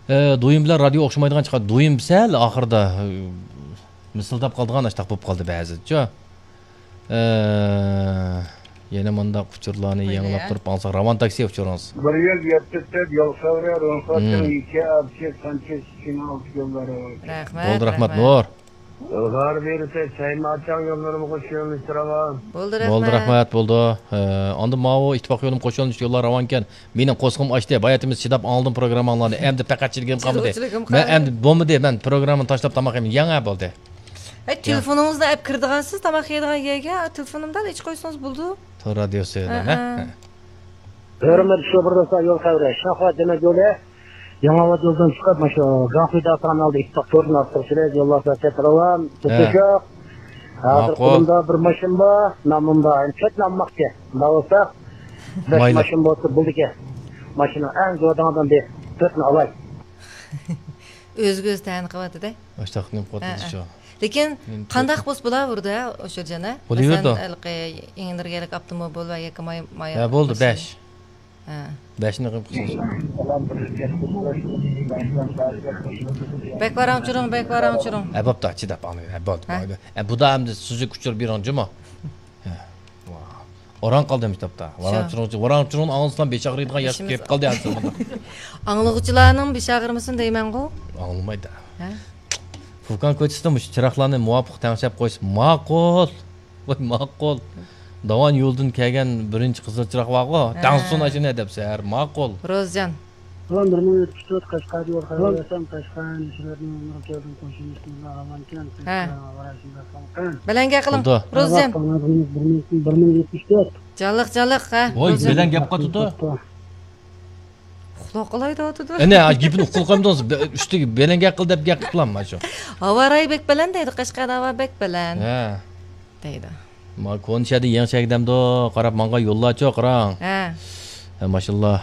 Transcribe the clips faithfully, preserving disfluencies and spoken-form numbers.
ئە، دويۇم بىلەن رادىيو ئوخشىمايدىغان چىقار. دويۇم سەل ئاخىرىدا، ئە، مىسىلداپ قالىدىغان ئاشتاق بولۇپ قالدى بەزىچۇ. ئە، يەنە مۇنداق ئۇچۇرلارنى يېڭىلاپ تۇرۇپ ئاڭلىساق، راۋان تاكسى ئۇچۇرىڭىز. بىر يۈز يەتتە تۆت يول خەۋىرى، روخاتىڭ يېكە ئابچە سانچە سىكىنىڭ ئالتە يوللىرى. رەھمەت. بولدى، رەھمەت، نۇر. ئىلغار بېرىسە، چايماچاڭ يوللىرىمۇ قوش يۆنىلىشتە راۋان. بولدى، بولدى، رەھمەت. رەھمەت، بولدى. ئە، ئاندىن ماۋۇ ئىتتىپاق يولىمۇ قوش يۆنىلىشتە يوللار راۋانكەن. مېنىڭ قورسىقىم ئاچتى، باياتىمىز چىداپ ئاڭلىدىم پروگرامماڭلارنى. ئەمدى پەقەت چىدىگىنىم قالمىدى. مەن ئەمدى بولمىدى، مەن پروگراممىنى تاشلاپ تاماق يەيمەن. يېڭى بولدى. ھەي، تېلېفونىڭىزنى ئەپ كىرىدىغانسىز، تاماق يەيدىغان يەرگە، تېلېفونۇمدا ئېچىپ قويسىڭىز بولىدۇ. تور رادىيوسى، ھە، ھە. ھە. ھۆرمەتلىك شوپۇر دوستلار، يول خەۋىرى. شاخا دېمەك يولى. يېڭىئاۋات يولدىن چىقىپ، مۇشۇ گاڭخۇي داۋخانىنىڭ ئالدىدا ئىتتىپاق تورىدىن ئارتۇق سۈرەت يوللار سەت راۋان. ھە. تۇتۇشۇق. ھازىر ماقۇل. قولۇمدا بىر ماشىنا بار، نامىم بار. يەنى تۆتنى ئالماقچى. مۇنداق بولسا، بەش ماشىنا بولسا بولىدىكەن. ماشىنا ئەڭ زور دەڭدىن بىر تۆتنى ئالاي. ئۆزىگە ئۆزى تەنە قىلىۋاتىدۇ. ئاشتاق نېمە قىلىۋاتىدۇ شۇ. لېكىن قانداق بولسا بولاۋېرىدۇ، ئوشۇرجان، ھە؟ بولۇۋېرىدۇ. مەسىلەن، ھېلىقى ئېڭىنىرگەلىك ئاپتوموبىل ۋە ياكى ماي-، ھە، بولدى، ماشىنا. بەش. ھە. بەشنى قىلىپ قىلسىڭىز. بەك ۋاراڭ چۇرۇڭ، بەك ۋاراڭ چۇرۇڭ. ھە، بوپتۇ، چىداپ ئاڭلايمەن. ھە، بولدى، ھە؟ بولدى. ھە، بۇدا ئەمدى سۈزۈك ئۇچۇر بېرىڭ جۇمۇ. ھە. ۋا. ئوراڭ قالدى مۇشۇ تاپتا. ۋاراڭ چۇرۇڭ، ۋاراڭ چۇرۇڭنى ئاڭلىسام بېشى ئاغرىيدىغان ياشقا كىرىپ قالدى ھازىر مۇنداق. ئاڭلىغۇچىلارنىڭ بېشى ئاغرىمىسۇن دەيمەنغۇ. ئاڭلىمايدۇ. ھە؟ فۇكان كوچىسىدا مۇشۇ چىراغلارنى مۇۋاپىق تەڭشەپ قويسا ماقۇل. ۋاي، ماقۇل. داۋان يولىدىن كەلگەن بىرىنچى قىزىل چىراغ بارغۇ، ھە. تەڭشىسۇن ئاشۇنى دەپ سەھەر ماقۇل. روزجان. سالام، بىر مىڭ يەتمىش تۆت، قەشقەر دىۋار خەۋەر بەرسەم، قەشقەر نېمە كەلدىم، قوشۇن ئىسمىدا ئامان ئىكەن، ھە. بەلەن گەپ قىلىڭ، روزجان. بىر مىڭ، بىر مىڭ يەتمىش تۆت. جانلىق، جانلىق، ھە، ۋاي، روزجان. بەلەن گەپ قاتىدۇ. ئۇخلاپ قالاي دەۋاتىدۇ. ئەنە، گېپىنى ئۇققىلى قويمىدىڭىز. بە-، ئۈستىگە بەلەن گەپ قىل دەپ گەپ قىلىپلامما شۇ؟ ھاۋا رايى بەك بەلەن دەيدۇ، قەشقەردە ھاۋا بەك بەلەن. ھە. دەيدۇ. ما كونا شەھەردە يېڭى شەھەرگە دەمدۇ، قاراپ ماڭغان يوللارچۇ قاراڭ. ھە. ھە، ماشاللا.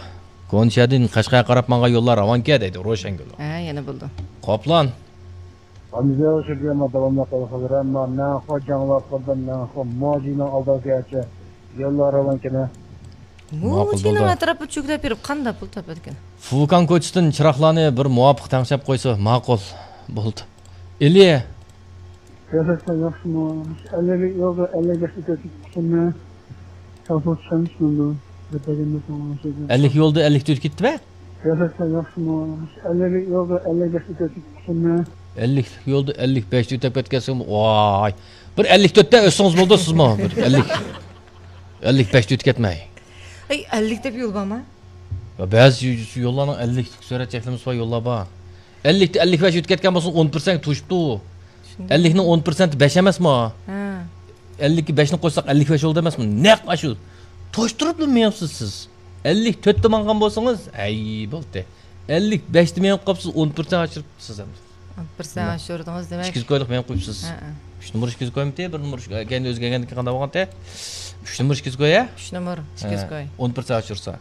كونا شەھەردىن قەشقەرگە قاراپ ماڭغان يوللار راۋانكەن دەيدۇ، روشەنگۈل. ھە، يەنە بولدى. قوپلان. ئەمدى شۇ يەردە ماداۋاملىق قىلغىلى، مەنخۇ جاڭلاپ قىلدىم، مەنخۇ موجىنىڭ ئالدىغىچە يوللار راۋانكەن. ماقۇل موجىنىڭ بولدى. ئەتراپىدا چۆگىلەپ يۈرۈپ قانداق پۇل تاپىدىكەن؟ فۇكان كوچىسىدىن چىراغلارنى بىر مۇۋاپىق تەڭشەپ قويسا ماقۇل. بولدى. ئېلى. سىياسەتچىلەر ياخشىمۇ؟ ئەللىك يولدا ئەللىك بەش ئۆتۈپ كېتىپتىمۇ؟ تەلىپات چۈشەنمىسىمەن بۇ. گەپ بەرگەندە توغرا ئۆتۈپ كېتىپتىمۇ؟ ئەللىك يولدا ئەللىك ئۆتۈپ كېتىپتىمۇ؟ سىياسەتچىلەر ياخشىمۇ؟ ئەللىك يولدا ئەللىك بەش ئۆتۈپ كېتىپتىمۇ؟ ئەللىك يولدا ئەللىك بەشتە ئۆتۈپ كەتكەنسىڭىز، ۋاي. بىر ئەللىك تۆتتە ئۆتسىڭىز بولدى سىزمۇ. بىر ئەللىك، ئەللىك بەشتە ئۆتۈپ كەتمەي. ئەي، ئەللىك دەپ يول بارمۇ؟ يا، بەزى يوللارنىڭ ئەللىكلىك سۈرئەت چەكلىمىسى بار يوللار بار. ئەللىكتە ئەللىك بەش ئۆتۈپ كەتكەن بولسا، ئون پىرسەنت توشۇپتۇ. چۈشەندىم. ئەللىكنىڭ ئون پىرسەنتى بەش ئەمەسمۇ؟ ھە. ئەللىككە بەشنى قوشساق، ئەللىك بەش بولدى ئەمەسمۇ؟ نەق ئاشۇ. توشتۇرۇپلا مېڭىپسىز سىز. ئەللىك تۆتتە ماڭغان بولسىڭىز، ھەي، بولدى. ئەللىك بەشتە مېڭىپ قاپسىز، ئون پىرسەنت ئاشۇرۇپسىز ئەمدى. ئون پىرسەنت ئاشۇردىڭىز، دېمەك. ئىككى يۈز كويلۇق مېڭىپ قويۇپسىز. ھە، ھە. ئۈچ نومۇر ئىككى يۈز كويمىتى، بىر نومۇر ئىككى-، كەينىدىن ئۆزگەرگەندىن كېيىن قانداق بولغانتى؟ ئۈچ نومۇر ئىككى يۈز كوي، ھە؟ ئۈچ نومۇر ئىككى يۈز كوي. ھە. ئون پىرسەنت ئاشۇرسا.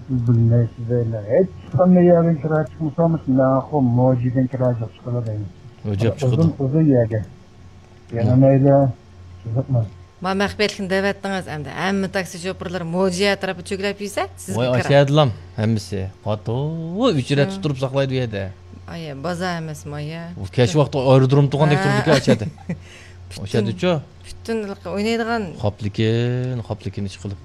بىلمەيسىز، بىلمەي. ھېچ قانداق يەردىن كىرا چىقمىسا، مانا خو موجىدىن كىرا چىقىپ چىقىدۇ دەيمىز. ئۆجەپ چىقىدۇ. ئۇزۇن، ئۇزۇن يەرگە. يەنە مەيلى، قىزىقماس. ما مەخپىيەتلىكنى دەۋەتتىڭىز ئەمدى. ھەممە تاكسى شوپۇرلىرى موجى ئەتراپىدا چۆگىلەپ يۈرسە، سىزگە ۋاي، كىرا. ئاشۇ يەردىلام ھەممىسى. قاتتىق ئۆچرەت شۇ. تۇرۇپ ساقلايدۇ ئۇ يەردە. ئايە، بازار ئەمەسمۇ ئايە. ئۇ كەچ ۋاقتى ئايرودروم تۇرغاندەك ھە. تۇرىدىكەن ئاشۇ يەردە. ئاشۇ يەردىچۇ؟ پۈتۈن ئوينايدىغان. خاپلىكىن، خاپلىكىن ئىش قىلىپ.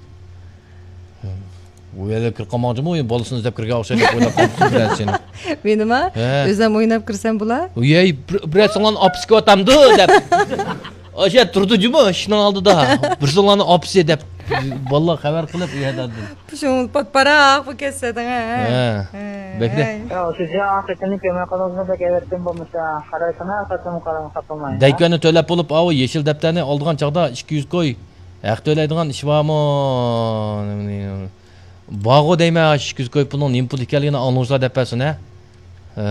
ئۇ يەرگە كىرىپ قالماقچىمۇ، ئۇ بالىسىنى ئىزدەپ كىرگەن ئوخشايدۇ دەپ ئويلاپ قالدىم بىرەرسىنى. مېنىما؟ ھە. ئۆزۈم ئويناپ كىرسەم بولا؟ ۋەي، بىر، بىرەرسىڭلارنى ئاپىسىكى ئاتامدۇ دەپ. ئاشۇ تۇرىدۇ جۇمۇ ئىشىكنىڭ ئالدىدا. بىرسىڭلارنى ئاپىسى دەپ. بالىلار خەۋەر قىلىپ ئۇ يەردە. شۇڭ پاتپاراق بۇ كەتسە دەڭە. ھە. ھە. بەكرە. ھەي. يا، شۇ جاي ئاخىرقىنى كۆرمەي قالدىڭىزمۇ بەك ئەۋەتكەن بولمىسا. قارايسىنا، قاچان قاراڭ خاپىماي. دەيكۆننى تۆلەپ بولۇپ، ئاۋۇ يېشىل دەپتەرنى ئالىدىغان چاغدا ئىككى يۈز كوي. ھەق تۆلەيدىغان ئىش بارمۇ؟ بارغۇ دەيمەن، ئىككى يۈز كوي پۇلنىڭ نېمە پۇل ئىكەنلىكىنى ئاڭلىغۇچىلار دەپ بەرسۇن، ھە؟ ھە،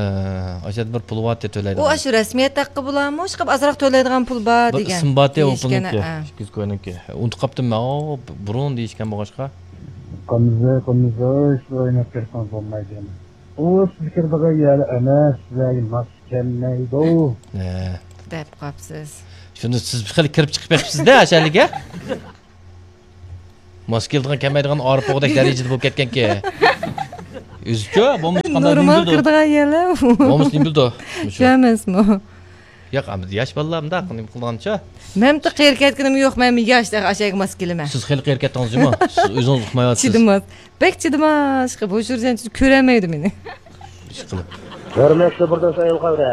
ئاشۇ يەردە بىر پۇل بارتى تۆلەيدىغان. ئۇ ئاشۇ رەسمىيەت ھەققى بولامۇ؟ ئىشقىلىپ ئازراق تۆلەيدىغان پۇل بار بىر دېگەن. ئىسىم بارتى ئۇ دېيىشكەن، پۇلنىڭكى، ھە. ئىككى يۈز كوينىڭكى. ئۇنتۇپ قاپتىمەن، ئاۋۇ بۇرۇن دېيىشكەن بولغاچقا. قىمزى، قىمزى، سىز ئويناپ كىرسىڭىز بولمايدۇ يەنە. ئۇ سىز كىرىدىغان يەر ئەمەس، سىزلەرگە ماس كەلمەيدۇ. ھە. دەپ قاپسىز. شۇنى سىز خېلى كىرىپ چىقىپ بېقىپسىز-دە، ئاشۇ يەرگە. ماس كېلىدىغان، كەلمەيدىغان ئارپا ئوغدەك دەرىجىدە بولۇپ كەتكەنكى. ئۆزىچۇ، بولمىسا قانداق نېمە نورمال بىلىدۇ؟ قىلىدىغان يەرلەر. بولمىسا نېمە بىلىدۇ؟ مۇشۇ. كۆرمەسمۇ؟ ياق، ئەمدى ياش بالىلار مۇنداق نېمە قىلغانچە؟ مەنمۇ قېرى كەتكىنىم يوق، مەنمۇ ياش، ئاشۇ يەرگە ماس كېلىمەن. سىز خېلى قېرى كەتتىڭىز جۇمۇ. سىز ئۆزىڭىز ئۇقمايۋاتىسىز. چىدىماس. بەك چىدىماس. بۇ شۇرجان كۆرەلمەيدۇ مېنى. ئىشقىلىپ. ھۆرمەتلىك بىردوست ئايال قەۋرە.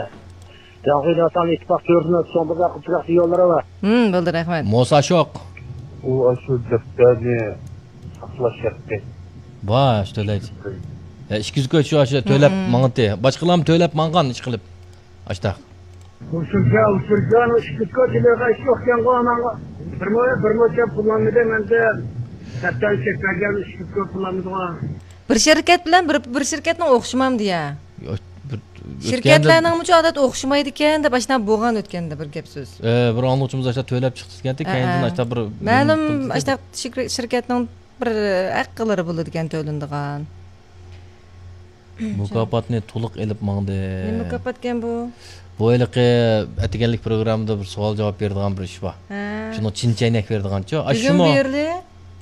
جاڭخۇي ناتان ئىتتىپاق كۆرسىمۇ چوڭ بىر قىپچىراق يوللىرى بار. ھىم، بولدى، رەھمەت. موسا شوق. ئۇ ئاشۇ دەپتەرنى ساقلاش ھەققى. باش تۆلەيدۇ. ھە، ئىككى يۈز كوي شۇ ئاشۇ تۆلەپ ماڭىتى. باشقىلارمۇ تۆلەپ ماڭغان ئىشقىلىپ. ئاشتاق. ئۇچۇرجان، ئۇچۇرجان، ئىككى يۈز كوي تۆلەيدىغان ئىش يوقكەنغۇ ئاناڭغا. بىرمۇ، بىرمۇ چەپ پۇللانمىدى مەندىن. دەپتەرنى چەك بەرگەن ئىككى يۈز كوي پۇللانمىدىغۇ. بىر شىركەت بىلەن بىر، بىر شىركەتنىڭ ئوخشىمامدۇ يا؟ يا، بىر ئۆتكەندە شىركەتلەرنىڭمۇ ئادەت ئوخشىمايدىكەن دەپ ئاشۇنداق بولغان ئۆتكەندە بىر گەپ سۆز. ئە، بىر ئاڭلىغۇچىمىز ئاشۇنداق تۆلەپ چىقتى دېگەنتى، ئەئە. كەينىدىن ئاشۇنداق بىر مەلۇم، پۇل ئاشۇنداق شىركەتنىڭ بىر ھەققىلىرى بولىدىكەن تۆلىنىدىغان. مۇكاپاتنى تولۇق ئېلىپ ماڭدى. نېمە مۇكاپاتكەن بۇ؟ بۇ ھېلىقى ئەتىگەنلىك پروگراممىدا بىر سوئال جاۋاب بېرىدىغان بىر ئىش بار. ھە. شۇنىڭ چىن چەينەك بېرىدىغانچۇ؟ ئاشۇمۇ؟ بۈگۈن بېرىلى؟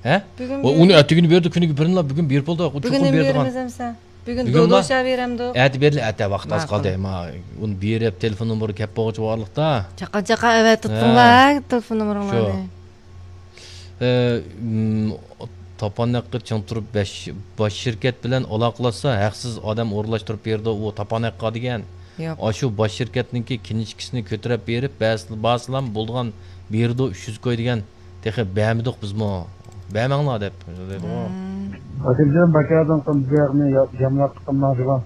ھە؟ بۈگۈن ئۇنى ئەتىگۈنى بېرىدۇ، كۈنىگە بىرىنلا بۈگۈن بېرىپ بولدى. بۈگۈن نېمە بېرىدىغان؟ بېرىمىز ئەمسە؟ بۈگۈن بۈگۈنما؟ دودوشا بېرەمدۇق. ئەتە بېرىلى، ئەتە ۋاقىت ئاز قالدى. ماقۇل. ما، ئۇنى بېرىپ، تېلېفون نومۇرى كەپ بولغۇچە بارلىقتا. چاققان، چاققان ئەۋەتىپ تۇتۇڭلار، ھە. تېلېفون نومۇرۇڭلارنى. شۇ. ئە، م، تاپان ھەققى چىڭ تۇرۇپ بەش، باش شىركەت بىلەن ئالاقىلاشسا، ھەقسىز ئادەم ئورۇنلاشتۇرۇپ بېرىدۇ، ئۇ تاپان ھەققى دېگەن. ياق. ئاشۇ باش شىركەتنىڭكى كىنىشكىسىنى كۆتۈرۈپ بېرىپ، بەرسىلا، بارسىلام بولىدىغان بېرىدۇ، ئۈچ يۈز كوي دېگەن. تېخى بەرمىدۇق بىزمۇ. بەرمەڭلار دەپ دەيدىغۇ. مم. ئاكىمجان، بەكەردىن قىمزىياقنى ياملاپ قىلماڭ دېگەن.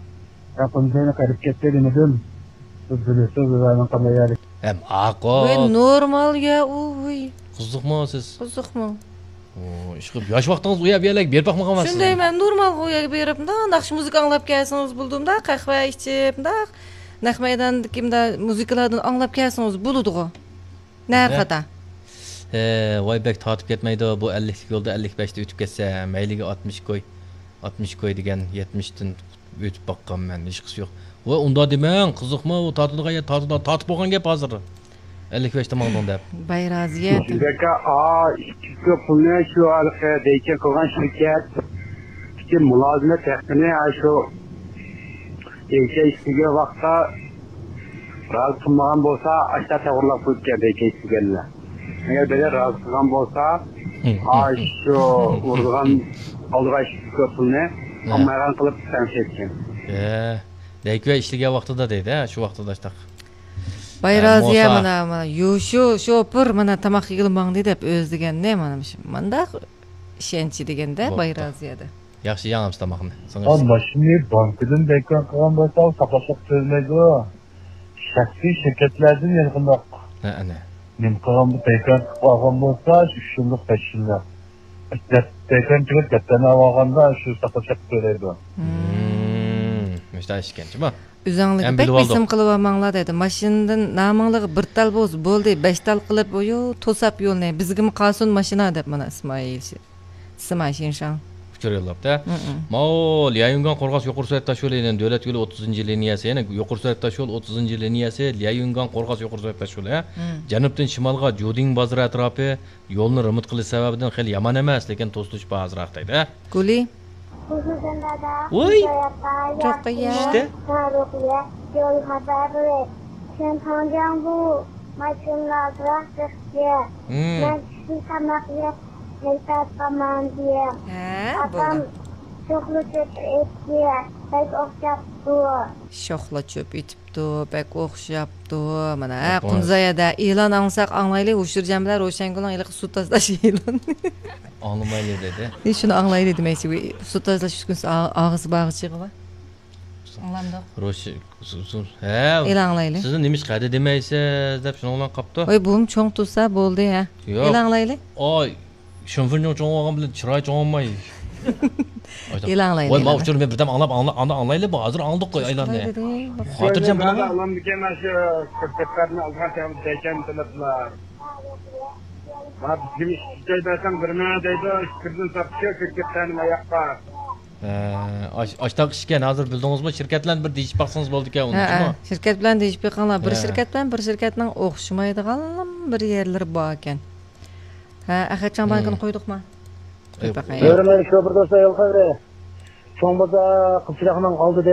يا قىمزىينى قېرىپ كەتتى دېمىدىم. سىز بىلىسىز، بىزلەرنىڭ قانداق يەرلىك. ھەم ئاقۇل. ۋاي، نورمال يا، ئۇ، ۋۇي. قىزىقمۇ سىز؟ قىزىقمۇ؟ ئۇ، ئىشقىلىپ ياش ۋاقتىڭىز ئۇ يەر، بۇ يەرلەرگە بېرىپ باقمىغانمۇ سىز؟ شۇندايمەن، نورمالغۇ ئۇ يەرگە بېرىپ، مۇنداق ناخشا مۇزىكا ئاڭلاپ كەلسىڭىز بولىدۇ، مۇنداق قەھۋە ئىچىپ، مۇنداق نەق مەيداندىكى مۇنداق مۇزىكىلاردىن ئاڭلاپ كەلسىڭىز بولىدىغۇ. نەرخەتا. ھە، ۋاي، بەك تارتىپ كەتمەيدۇ. بۇ ئەللىكلىك يولدا ئەللىك بەشتە ئۆتۈپ كەتسە، مەيلىگە ئاتمىش كوي، ئاتمىش كوي دېگەن يەتمىشتىن ئۆتۈپ باققانمەن، ھېچقىسى يوق. ۋاي، ئۇنداق دېمەڭ، قىزىقمۇ، ئۇ تارتىدىغان يەر تارتىدۇ، تارتىپ بولغان گەپ ھازىر. ئەللىك بەشتە ماڭدىڭ دەپ. باي رازىيەت. بەكە، ئا، ئىككى كوي پۇلنى شۇ ھېلىقى دېيچىن قىلغان شىركەت، ئىككى مۇلازىمەت ھەققىنى، ئا، شۇ ئېيتىش دېگەن ۋاقىتتا رازى قىلمىغان بولسا، ئاشتا تەۋرلاپ قويۇپتىكەن، بەيكەي دېگەنلەر. ئەگەر بىرى رازى قىلغان بولسا، ھە، ھە. ئاشۇ ئۇرىدىغان، ئالىدىغان ئىككى كوي پۇلنى ھە. ئالمايدىغان قىلىپ تەڭشەيدىكەن. ھە، بەيكەي ئىشلىگەن ۋاقتىدا دەيدۇ، ھە، شۇ ۋاقتىدا ئاشتاق. باي ھە، رازىيە موسا. مانا، مانا، يۇ، شۇ شوپۇر مانا تاماق يېگىلى ماڭدى دەپ ئۆزى دېگەننى، مانا مۇشۇ، مانداق ئىشەنچى دېگەندە، باي بوپتۇ. رازىيەدە. ياخشى يەڭ ئەمسە تاماقنى. سىڭىش. ئا، ماشىنىنى بانكىدىن بەيكار قىلغان بولسا، ئۇ ساقلاشلىق تۆلىمەيدۇ. شەخسىي شىركەتلەردىن يەنە قانداق؟ ھە، ئەنە. نېمە قىلغان، بەيكار قىلىپ ئالغان بولسا، ئۈچ يىللىق، بەش يىللىق. دەپ، بەيكار قىلىپ دەپتەرنى ئالغاندا، شۇ ساقلاشلىق تۆلەيدۇ. مم، مۇشۇنداق ئىش ئىكەن، جۇمۇ. ئۆزۈڭلارگە ھەم بەك بىلىۋالدۇق. بېسىم قىلىۋالماڭلار دەيدۇ. ماشىنىدىن نامىڭلارغا بىر تال بولسا بولدى، بەش تال قىلىپ، ئويۇ، توساپ يولنى. بىزگىمۇ قالسۇن ماشىنا دەپ، مانا، ئىسمائىل شى-، سىما شىنشاڭ. ئۇچۇر يوللاپتۇ. مم. ماۋۇ ليايۈنگاڭ قورغاس يۇقىرى سۈرئەت تاشيولى، يەنە دۆلەت يولى ئوتتۇزىنچى لىنىيەسى، يەنە يۇقىرى سۈرئەت تاشيولى ئوتتۇزىنچى لىنىيەسى، ليايۈنگاڭ قورغاس يۇقىرى سۈرئەت تاشيولى، ھە؟ مم. جەنۇبتىن شىمالغا جۇدىڭ بازىرى ئەتراپى، يولنى رېمونت قىلىش سەۋەبىدىن خېلى يامان ئەمەس، لېكىن توسۇلۇش بار ئازراق دەيدۇ. گۈلى. خۇسۇسەن دادا، ۋۇي! خۇدايا، رۇقىيە. ياقىندا، رۇقىيە، يول خەۋەرى. سەن تاڭجاڭ بۇ، ماشىنىلار ئازراق چىقتى. ھىم. مەن چۈشتە تاماق يەپ، ھېيتاپ قالماڭ دېيە. ھە، ئاپام بولدى. شوخلا چۆپ ئېتىپ، بەك ئوخشاپتۇ. شوخلا چۆپ ئېتىپ. بوپتۇ، بەك ئوخشاپتۇ. مانا، ھە، قۇنزايەدە ئېلان ئاڭلىساق ئاڭلايلى، ھوشۇرجان بىلەن روشەنگۈلنىڭ ھېلىقى سۇ تازىلاش ئېلانى. ئاڭلىمايلى دېدى. ئى، شۇنى ئاڭلايلى دېمەيسىز، سۇ تازىلاش ئۈسكۈنىسى ئا-، ئاغزى باغچىغىغا. ئاڭلامدۇق. روشى-، سۇ-، سۇ-، ھە. ئېلان ئاڭلايلى. سىزنى نېمىشقا ھەدە دېمەيسىز دەپ شۇنىڭ بىلەن قاپتۇ. ۋاي، بۇمۇ چوڭ تۇرسا بولدى، ھە. ياق. ئېلان ئاڭلايلى. ئاي. شىنفېنجۇڭ چوڭ بولغان بىلەن چىرايى چوڭ بولماي. ۋاي، ماۋۇ ئۇچۇرنى مەن بىردەم ئاڭلاپ، ئاڭلا-، ئاندىن ئاڭلايلى، بۇ ھازىر ئاڭلىدۇققۇ ئېلاننى. خاتىرجەم بولۇڭ. ئاڭلامدىكەن، ئاشۇ كۆكتاتلارنى ئالغان چاغدا دەيكەن تىلىپلا. ما بىزگىمۇ ئىككى كوي بەرسەڭ بىر مىڭ دەيدۇ، ئىككى كويدىن ساتتىچۇ كۆكتاتلارنى ماياققا. ھە، ئاش-، ئاشتاق ئىشكەن، ھازىر بىلدىڭىزمۇ، شىركەتلەرنى بىر دېيىشىپ باقسىڭىز بولىدىكەن، ھە، ئۇنچىمۇ. ھە، شىركەت بىلەن دېيىشىپ بېقىڭلار، بىر ھە. شىركەت بىلەن بىر شىركەتنىڭ ئوخشىمايدىغان بىر يەرلىرى باركەن. ھە، ئەخەتجان بانكىنى قويدۇقما؟ قويۇپ باقايلى. بۆرىمەن شوپۇر دوستلار، يول خەۋىرى. چوڭ بازار قىزچىراغنىڭ ئالدىدىن